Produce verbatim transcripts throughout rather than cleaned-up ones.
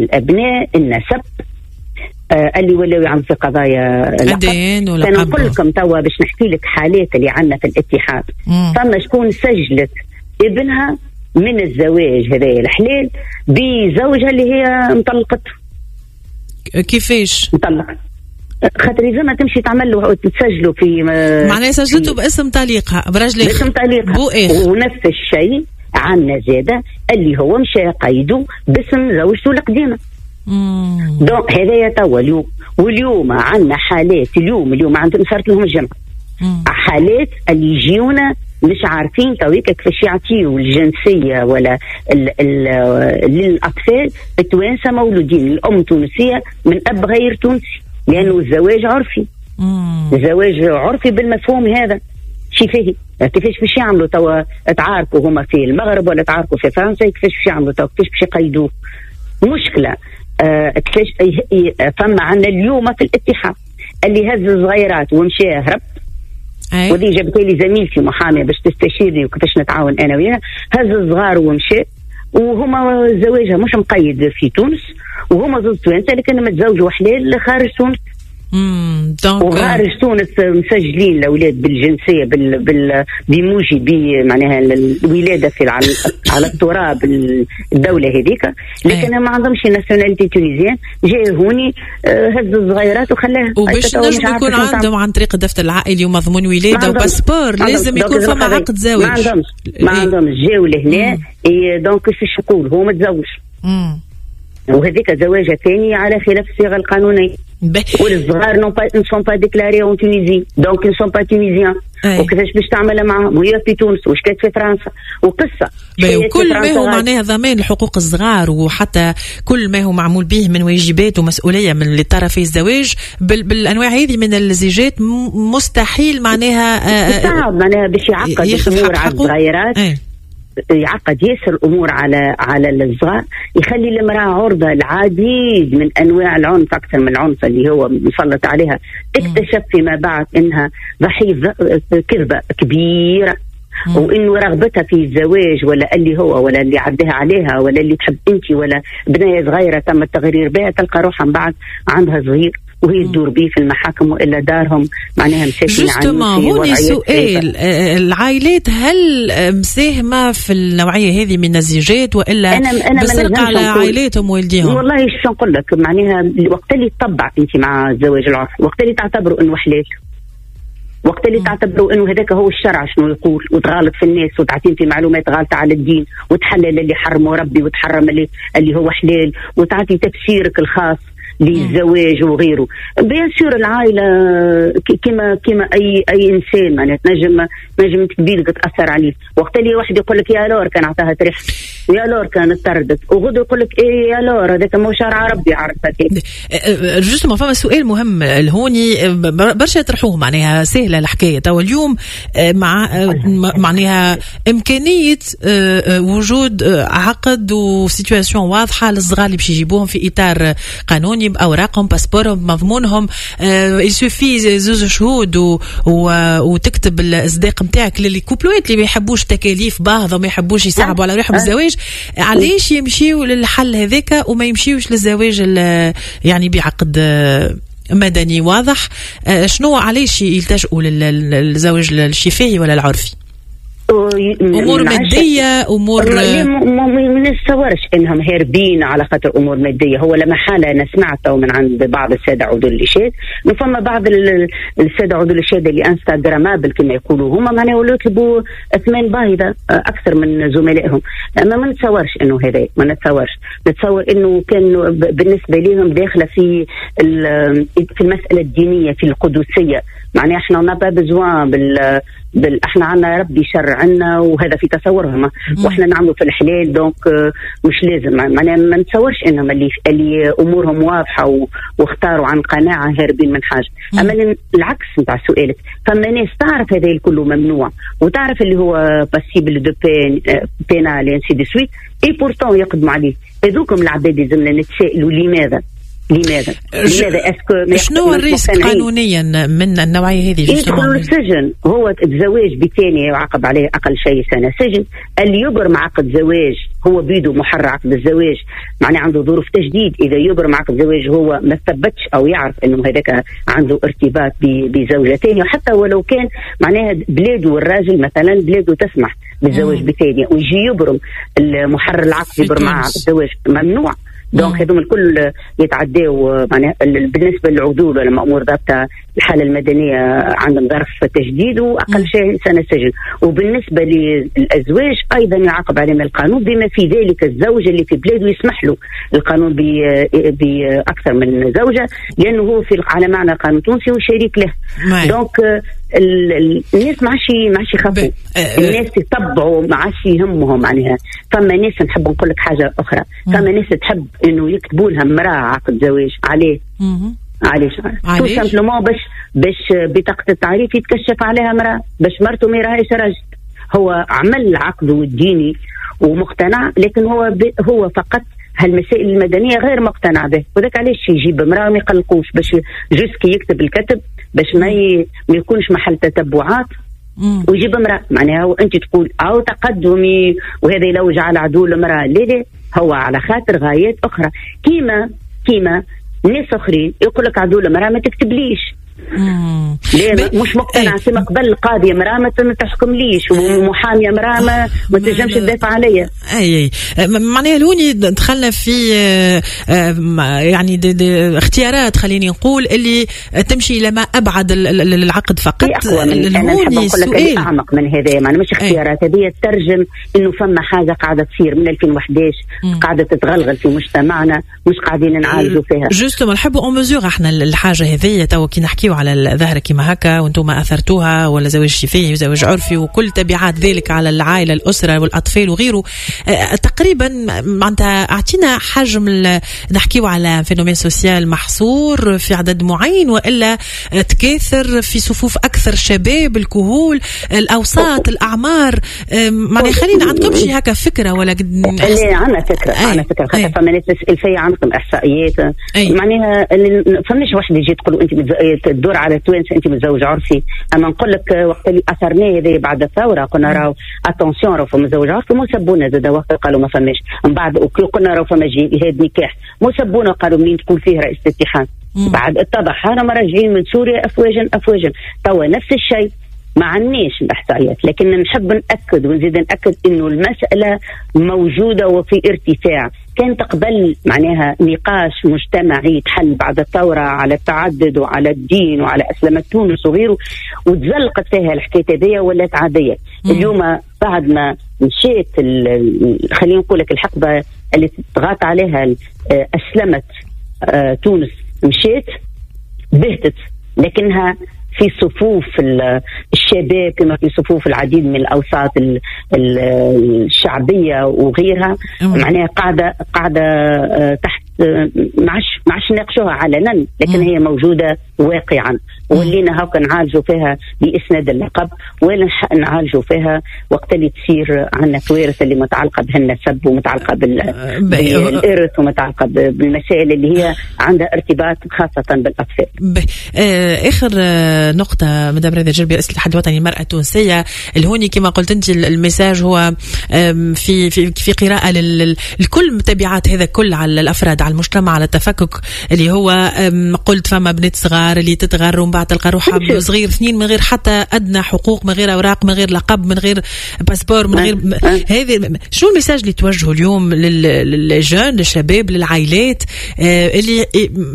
الابناء، النسب، آه اللي ولاو يعملوا في قضايا الدين ولا. انا نقول لكم توا باش نحكي لك حالات اللي عندنا في الاتحاد. فما شكون سجلت ابنها من الزواج هذا الحلال بزوجها اللي هي مطلقته. كيفاش؟ مطلقة، خاطر إذا ما تمشي تعمل له تسجله في معناها سجلته باسم طليقها، برجل باسم طليقها. ونفس الشيء عندنا زاده اللي هو مشى قيده باسم زوجته القديمة. donc هذايا توا اليوم، واليوم عندنا حالات، اليوم اليوم عندهم صارت لهم الجمعة حالات اللي يجيونا مش عارفين تويك كيفاش يعطيو الجنسية ولا ال ال للاطفال التوانسة مولودين الام تونسية من اب غير تونسي، لانه الزواج عرفي. مم. الزواج عرفي بالمفهوم هذا شفاهي. كيفاش باش يعملوا توا؟ تعاركوا هما في المغرب ولا تعاركوا في فرنسا، كيفاش باش يعملوا توا؟ كيفاش باش يقيدوه؟ مشكلة. آه كيفاش فما عندنا اليوم في الاتحاد اللي هز الصغيرات ومشى هرب، وذي جابت لي زميلتي محاميه باش تستشيرني وكيفاش نتعاون انا وياها. هز الصغار ومشى، وهما زواجها مش مقيد في تونس، وهما زوج توانسة لكن متزوجوا حلال خارج تونس. امم وخارج تونس مسجلين الاولاد بالجنسيه بال بال بموجب معناها الولادة في على, على التراب الدولة هذيك، لكن ما عندهمش nationalité tunisienne. جاي هوني هز الصغيرات وخلاها. وباش نجم يكون عندهم عن طريق الدفتر العائلي ومضمون ولاده و passeport، لازم يكون فما عقد زواج. ما عندهمش ما عندهمش جاوا لهنا. donc كيفاش نقول هو متزوج، وهذيك زواجه ثانية على خلاف الصيغة القانونية. والصغار n'ont pas ne sont pas déclarés en Tunisie، donc ne sont pas tunisiens. وكيفاش باش تعمل معاهم وهي في تونس وش كانت في فرنسا وقصة. وكل ما هو معناها ضمان لحقوق الصغار، وحتى كل ما هو معمول به من واجبات ومسؤولية من لطرفي الزواج بال بالانواع هذه من الزيجات مستحيل معناها صعب معناها باش يعقد الامور على الصغيرات، يعقد ياسر الامور على على الصغار، يخلي المراة عرضه العديد من انواع العنف اكثر من العنف اللي هو مسلط عليها. اكتشف فيما بعد انها ضحية كذبه كبيرة، وانه رغبتها في الزواج ولا اللي هو ولا اللي عداها عليها ولا اللي تحب انت ولا بنيه صغيرة تم التغرير بها، تلقى روحها من بعد عندها صغير وهي تدور بيه في المحاكم والا دارهم معناها مساكن. justement هوني سؤال، العائلات هل مساهمة في النوعية هذه من الزيجات والا أنا أنا بالسرقة على عائلاتهم والديهم؟ والله شو نقول لك، معناها وقت اللي تطبع انت مع الزواج العرفي، وقت اللي تعتبروا انه حلال، وقت اللي تعتبروا انه هذاك هو الشرع شنو يقول، وتغالط في الناس وتعطين في معلومات غالطه على الدين، وتحلل اللي حرمه ربي وتحرم اللي اللي هو حلال، وتعطي تفسيرك الخاص للزواج وغيره. bien sûr العائلة كما كما اي اي انسان معناها تنجم تنجم تبيدك تاثر عليه. وقت اللي واحد يقول لك يا alors كان عطاها تريح، ويا alors كانت طردت، وغدو يقول لك ايه يا alors هذاك مو شرع ربي، عرفت. justement فما سؤال مهم الهوني برشا يطرحوه، معناها سهلة الحكاية تو اليوم مع معناها امكانية وجود عقد و situation واضحة للصغار اللي باش يجيبوهم في اطار قانوني باوراقهم passeport هم مضمونهم، il suffit زوز شهود و... و... وتكتب الصداق نتاعك لل couple وات اللي ما يحبوش تكاليف باهظه وما يحبوش يصعبوا على روحهم الزواج. علاش يمشيو للحل هذاك وما يمشيوش للزواج يعني بعقد مدني واضح؟ شنو علاش يلتجئوا للزواج الشفاهي ولا العرفي؟ امور مادية، امور ما نتصورش انهم هاربين على خاطر امور مادية. هو لما حاله انا سمعته من عند بعض السادة عدول الاشاد، فما بعض السادة عدول الاشاد اللي instagrammables كما يقولوا هما، معناها ولاو يطلبوا اثمان باهظه اكثر من زملائهم. اما ما نتصورش انه هذا، ما نتصورش، نتصور انه كان بالنسبة لهم داخله في في المسالة الدينية، في القدسية. معناها احنا n'a pas besoin بال بال احنا عندنا ربي شرع عنا، وهذا في تصورهم، واحنا نعملوا في الحلال، donc مش لازم. معناها ما نتصورش انهم اللي اللي امورهم واضحة و... واختاروا عن قناعة هاربين من حاجة. اما العكس نتاع سؤالك، فما ناس تعرف هذا الكل ممنوع وتعرف اللي هو passible de peine pénale ainsi de suite، et pourtant يقدموا عليه. هذوكم العباد لازمنا نتسائلوا لماذا. لماذا؟ لماذا est-ce que شنو ال risque قانونيا من النوعية هذه؟ يدخل السجن. هو الزواج بثانيه يعاقب عليه اقل شيء سنة سجن. اللي يبرم عقد زواج هو بيده محرر عقد الزواج، معناه عنده ظروف تجديد. اذا يبرم عقد زواج هو ما ثبتش او يعرف انه هذاك عنده ارتباط بزوجه ثانية، وحتى ولو كان معناها بلاده الراجل مثلا بلاده تسمح بالزواج بثانيه ويجي يبرم المحرر العقد يبرم عقد الزواج، ممنوع. donc هذوما الكل يتعداو معناها بالنسبة للعدول ولا مامور ضبط الحالة المدنية عندهم ظرف تجديد واقل شيء سنة سجن. وبالنسبة للازواج ايضا يعاقب عليهم القانون، بما في ذلك الزوج اللي في بلاده يسمح له القانون باكثر من زوجه، لانه هو في على معنى القانون التونسي وشريك له. donc الناس ما عادش ما عادش يخافوا، الناس يتبعوا، ما عادش يهمهم معناها. فما ناس نحب نقول لك حاجة اخرى، فما ناس تحب انه يكتبوا لها امراة عقد زواج. عليه علاش؟ tout simplement باش باش بطاقة التعريف يتكشف عليها امراة، باش مرته ما يراهاش راجل. هو عمل عقده الديني ومقتنع، لكن هو هو فقط هالمسائل المدنية غير مقتنع به، وذاك علاش يجيب امراة ما يقلقوش، باش juste كي يكتب الكتب باش ما ي... ما يكونش محل تتبعات ويجيب امراة. معناها وانت تقول او تقدمي وهذا يلوج على عدول امراة، لا لا، هو على خاطر غايات اخرى. كيما كيما ناس اخرين يقول لك عدول امراة ما تكتبليش، ليه مش مقتنع سما قبل القاضي امراة ما تحكمليش، ومحاميه امراة ما, ما تنجمش تدافع عليا. اي اي معناها لوني دخلنا في يعني دي دي اختيارات، خليني نقول اللي تمشي الى ما ابعد العقد فقط. اقوى من انا نحب نقول لك اعمق من هذا، معناها مش اختيارات هذه ترجم انه فما حاجة قاعدة تصير من ألفين وأحد عشر قاعدة تتغلغل في مجتمعنا، مش قاعدين نعالجوا فيها. justement نحبوا on mesure احنا الحاجة هذه تو كي نحكيو على الظاهرة كيما هكا وانتم اثرتوها، ولا زواج شفاهي وزواج عرفي وكل تبعات ذلك على العائلة الاسرة والاطفال وغيره. تقريبا معناتها اعطينا حجم، نحكيو على phénomène social محصور في عدد معين والا تكاثر في صفوف اكثر شباب، الكهول، الاوساط، الاعمار؟ معناها خلينا عندكم شي هكا فكرة ولا قد؟ لا عندنا فكرة، عندنا فكرة خاطر فما ناس تسال فيا عندكم احصائيات، معناها فماش واحد يجي تقول انت تدور على توانسة انت متزوج عرفي. اما نقول لك وقت اللي اثرناه هذا بعد الثورة قلنا راهو attention راهو فما متزوج عرفي، مو سبونا زاد وقت قالوا ما فماش. من بعد قلنا راهو فما جهاد نكاح، مو سبونا قالوا منين تكون فيه رئيس الاتحاد. بعد اتضح رانا راجعين من سوريا افواجا افواجا. توا نفس الشيء، ما عندناش الاحصائيات، لكن نحب ناكد ونزيد ناكد انه المسالة موجودة وفي ارتفاع. كانت قبل معناها نقاش مجتمعي تحل بعد الثورة على التعدد وعلى الدين وعلى اسلمه تونس وغيره، وتزلقت فيها الحكاية هذيا ولات عادية. مم. اليوم بعد ما مشيت خلينا نقول لك الحقبة اللي تغاط عليها اسلمت تونس، مشيت بهتت، لكنها في صفوف الشباب كما في صفوف العديد من الأوساط الشعبية وغيرها، معناها قاعدة قاعدة تحت، ما عادش ما عادش ناقشوها علنا، لكن هي موجودة واقعا. ولينا هاكا نعالجوا فيها بإسناد اللقب، ولا نعالجوا فيها وقت اللي تصير عندنا كوارث اللي متعلقة بهالنسب ومتعلقة بالإرث ومتعلقة بالمسائل اللي هي عندها ارتباط خاصة بالأطفال. آخر نقطة مدام رضا الجربي، رئيسة الاتحاد الوطني للمرأة التونسية، الهوني كما قلت أنت ال message هو في في في قراءة لكل تبعات هذا كل على الأفراد، على المجتمع، على التفكك اللي هو قلت فما بنات صغار اللي تتغر ومن بعد تلقى روحها صغير اثنين من غير حتى أدنى حقوق، من غير أوراق، من غير لقب، من غير passeport، من غير هذه. شنو ال message اللي توجهه اليوم لل jeunes، للشباب، للعائلات اللي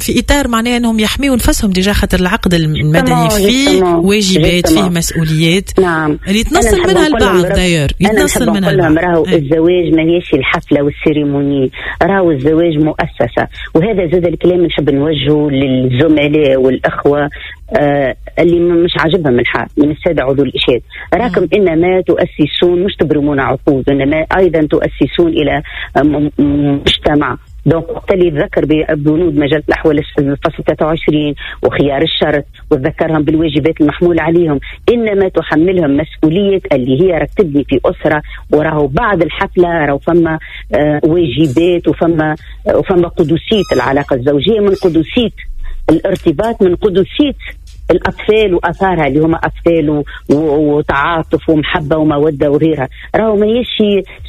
في إطار معناه أنهم يحميوا نفسهم déjà، خاطر العقد المدني فيه واجبات، فيه مسؤوليات. نعم. اللي يتنصل منها البعض داير يتنصل منها البعض. راهو الزواج ما هيش الحفلة وال cérémonie، راهو الزواج مؤسسة. وهذا زاد الكلام نحب نوجهه للزملاء والأخوة آه اللي مش عاجبهم الحال من السادة عضو الإشهاد، راكم إنما تؤسسون، مش تبرمون عقود، إنما أيضا تؤسسون إلى مجتمع. donc وقت اللي يتذكر ببنود مجلة الاحوال الفصل ثلاثة وعشرين وخيار الشرط وتذكرهم بالواجبات المحمولة عليهم، انما تحملهم مسؤولية اللي هي راك تبني في اسره، وراهو بعد الحفلة راهو فما آه واجبات وفما آه وفما قدسية العلاقة الزوجية، من قدسية الارتباط، من قدسية الاطفال واثارها اللي هما اطفال وتعاطف ومحبه ومودة وغيرها. راهو ماهيش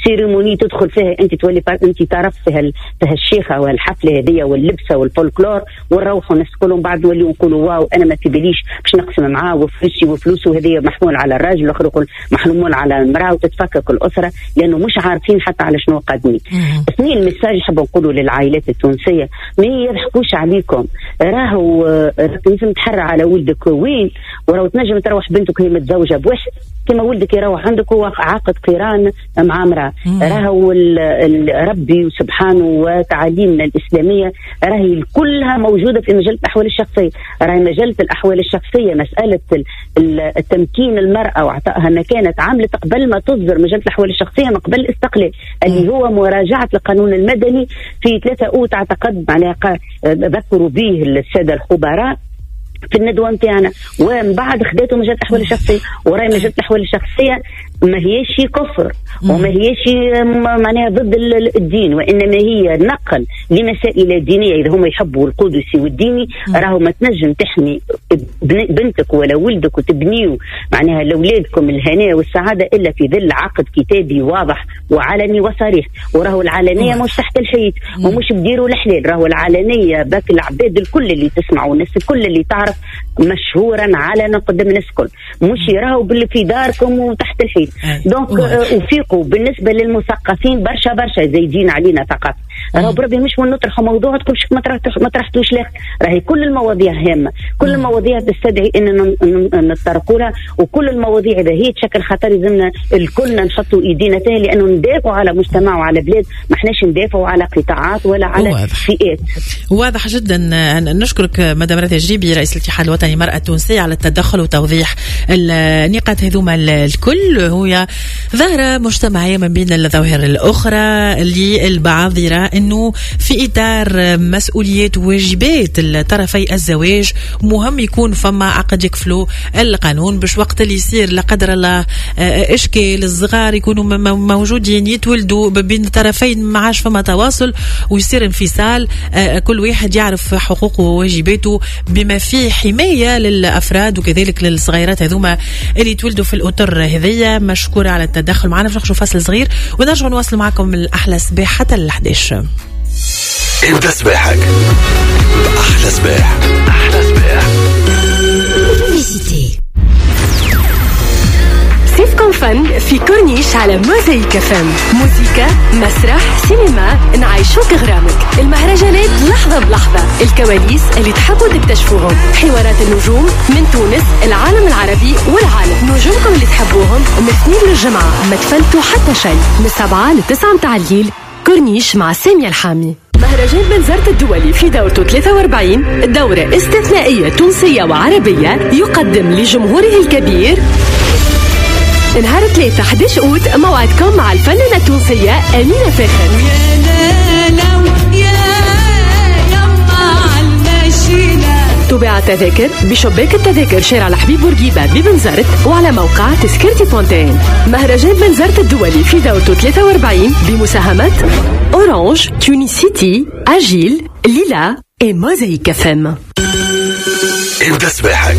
cérémonie تدخل فيها انت تولي انت طرف في هالشيخه والحفله هذيا واللبسه والفولكلور ونروحوا الناس كلهم بعد نوليو نقولوا واو انا ما في باليش باش نقسم معاه وفلوسي وفلوسه هذيا محمول على الراجل والاخر يقول محمول على المراة وتتفكك الاسرة لانه مش عارفين حتى على شنو قادمين. اثنين message حاب نقوله للعائلات التونسية، ما يضحكوش عليكم، راهو لازم تحرى على ولد وين، وراو تنجم تروح بنتك هي متزوجة بواحد كما ولدك يروح عندك هو عاقد قران مع امراة. راهو ربي سبحانه وتعاليمنا الاسلامية راهي كلها موجودة في مجلة الاحوال الشخصية. راهي مجلة الاحوال الشخصية مسالة التمكين المراة واعطائها مكانه عملت قبل ما تصدر مجلة الاحوال الشخصية من قبل الاستقلال اللي هو مراجعه القانون المدني في ثلاثة اوت اعتقد، معناها ذكروا به السادة الخبراء في الندوة نتاعنا، ومن بعد خداتو مجلة الاحوال الشخصية. وراي مجلة الاحوال الشخصية ما هيش كفر وما هيش معناها ضد الدين، وانما هي نقل لمسائل دينية. اذا هما يحبوا القدسي والديني راهو ما تنجم تحمي بنتك ولا ولدك وتبنيو معناها لاولادكم الهناء والسعادة الا في ظل عقد كتابي واضح وعلني وصريح. وراهو العلنيه مش تحت الحيط ومش بديروا الحلال، راهو العلنيه باك العباد الكل اللي تسمعوا والناس الكل اللي تعرف مشهورا علنا قدام الناس الكل، مش راهو باللي في داركم وتحت الحيط. donc وفيقوا بالنسبة للمثقفين برشا برشا زايدين علينا ثقافة، راهو بربي مش من نطرحوا موضوع تقول شوف ما طرحتوش لاخر، راهي كل المواضيع هامة، كل المواضيع تستدعي ان نتطرقوا لها، وكل المواضيع اذا هي تشكل خطر لازمنا الكلنا نحطوا ايدينا فيها، لانه ندافعوا على مجتمع وعلى بلاد، ما احناش ندافعوا على قطاعات ولا على واضح. فئات. واضح جدا. نشكرك مدام راضية الجريبي رئيس الاتحاد الوطني للمرأة التونسية على التدخل وتوضيح النقاط هذوما الكل. هي ظاهرة مجتمعية من بين الظواهر الأخرى اللي البعض يرى أنه في إطار مسؤوليات وواجبات الطرفي الزواج مهم يكون فما عقد يكفلو القانون باش وقت اللي يصير لا قدر الله إشكال الصغار يكونوا موجودين يتولدوا بين الطرفين ما عادش فما تواصل ويصير انفصال، كل واحد يعرف حقوقه وواجباته بما فيه حماية للأفراد وكذلك للصغيرات هذوما اللي تولدوا في الأطر هذية. مشكورة على التدخل معنا. باش نخرجوا فاصل صغير ونرجعوا نواصل معكم الأحلى صباح حتى الأحداش. ابدأ صباحك بأحلى صباح. أحلى صباح. صيفكم فن في كورنيش على موزايك فم. موسيقى، مسرح، سينما، نعيشوك غرامك. المهرجانات لحظة بلحظة، الكواليس اللي تحبوا تكتشفوهم، حوارات النجوم من تونس، العالم العربي والعالم، نجومكم اللي تحبوهم من اثنين للجمعة، ما تفلتوا حتى شيء، من سبعة لتسعة متاع الليل، كورنيش مع سامية الحامي. مهرجان بنزرت الدولي في دورته ثلاثة وأربعين، دورة استثنائية تونسية وعربية، يقدم لجمهوره الكبير نهار ثلاثة أحد عشر أوت موعدكم مع الفنانة التونسية أمينة فاخر. تباع التذاكر بشباك التذاكر شارع الحبيب بورقيبة ببنزرت وعلى موقع تذكرتي بونتين. مهرجان بنزرت الدولي في دورته ثلاثة وأربعين بمساهمة أورانج، تونسيتي، أجيل، ليلا et موزايك فم. ابدأ صباحك